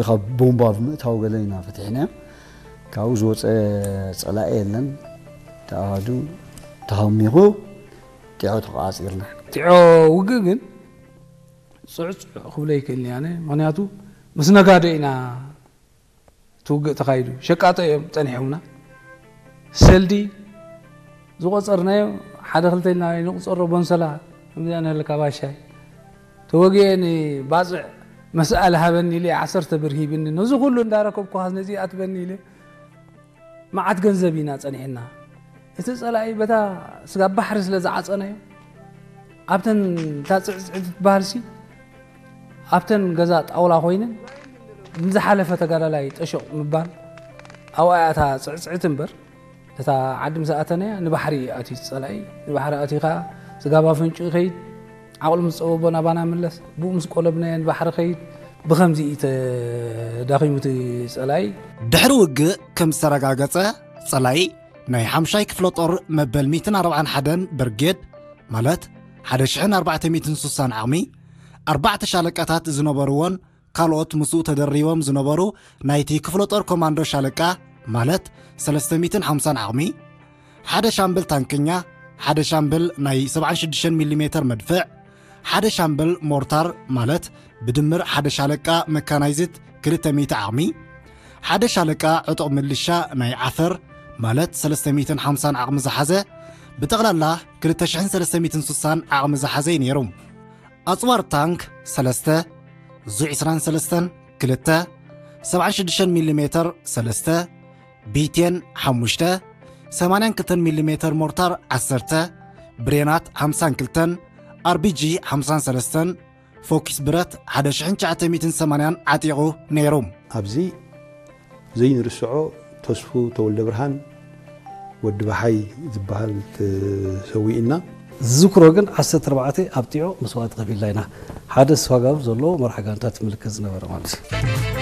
ካብ ቦምባ ብምእታው ገለ ኢና ፈቲሕናዮ። ካብኡ ዝወፀ ፀላኢ የለን። ተኣሃዱ ተሃሚኹ ጢዖ ተቋፂርና። ጢዖ ውግእ ግን ፅዕፅዕ ክብሎ ይክእልኒ ኣነ። ምክንያቱ ምስ ነጋዶ ኢና እቲ ውግእ ተኻይዱ። ሸቃጦ እዮም ፀኒሖምና። ሰልዲ ዝቆፀርናዮ ሓደ ክልተ ኢልና ንቁፀሮ። ቦንሰላ ከምዚኣ ንህልካ ባሻይ ተወጊኤ ንባፅዕ መስኣል ሃበኒ ኢለ ዓሰርተ ብር ሂብኒ። ነዚ ኩሉ እንዳረከብኩ ነዚ ኣትበኒ ኢለ መዓት ገንዘብ ኢና ጸኒሕና። እቲ ጸላኢ በታ ስጋብ ባሕሪ ስለ ዝዓጸናዮ፣ ኣብተን እታ ጽዕጽዕቲ ትበሃልሲ ኣብተን ገዛ ጣውላ ኮይነን ንዝሓለፈ ተጋዳላይ ጠሾቕ ምባል ኣብኣ እያ እታ ጽዕጽዕቲ እምበር። እታ ዓዲ ምስ ኣተናያ ንባሕሪ ኣትዩ ጸላኢ። ንባሕሪ ኣትዩ ከኣ ስጋብ ኣፍንጭኡ ይኸይድ፣ ዓቕሉ ምስ ጸበቦ ናባና ምለስ፣ ብኡ ምስ ቆለብናዮ ንባሕሪ ኸይድ። ብኸምዚ እዩ ተዳኺሙ እቲ ጸላኢ። ድሕሪ ውግእ ከም ዝተረጋገጸ፣ ጸላኢ ናይ ሓምሻይ ክፍለ ጦር መበል ሚእትን ኣርባዓን ሓደን ብርጌድ፣ ማለት ሓደ ሽሕን ኣርባዕተ ሚእትን ሱሳን ዓቕሚ፣ ኣርባዕተ ሻለቃታት ዝነበርዎን ካልኦት ምስኡ ተደሪቦም ዝነበሩ ናይቲ ክፍለ ጦር ኮማንዶ ሻለቃ፣ ማለት ሰለስተ ሚእትን ሓምሳን ዓቕሚ፣ ሓደ ሻምበል ታንከኛ፣ ሓደ ሻምበል ናይ ሰብዓን ሽዱሽተን ሚሊ ሜተር መድፍዕ፣ ሓደ ሻምበል ሞርታር፣ ማለት ብድምር ሓደ ሻለቃ መካናይዝድ ክልተ ሚእቲ ዓቕሚ፣ ሓደ ሻለቃ ዕጡቕ ምልሻ ናይ ዓፈር፣ ማለት ሰለስተ ሚእትን ሓምሳን ዓቕሚ ዝሓዘ፣ ብጠቕላላ ክልተ ሽሕን ሰለስተ ሚእትን ሱሳን ዓቕሚ ዝሓዘ እዩ ነይሩ። ኣጽዋር ታንክ ሰለስተ፣ ዙ ዕስራን ሰለስተን ክልተ፣ ሰብዓን ሽዱሽተን ሚሊ ሜተር ሰለስተ፣ ቢቴን ሓሙሽተ፣ ሰማንያን ክልተን ሚሊ ሜተር ሞርታር ዓሰርተ፣ ብሬናት ሓምሳን ክልተን፣ ኣርቢጂ ሓምሳን ሰለስተን፣ ፎኪስ ብረት ሓደ ሽሕን ትሽዓተ ሚእትን ሰማንያን ዓጢቑ ነይሩ። ኣብዚ ዘይንርስዖ ተስፉ ተወልደ ብርሃን ወዲ ባሓይ ዝበሃል ተሰዊእና። ዝዝክሮ ግን ዓሰርተ ኣርባዕተ ኣብ ጢዖ መስዋእቲ ከፊልና ኢና። ሓደ ስዋጋብ ዘለዎ መርሓ ጋንታ ትምልከት ዝነበረ ማለት እዩ።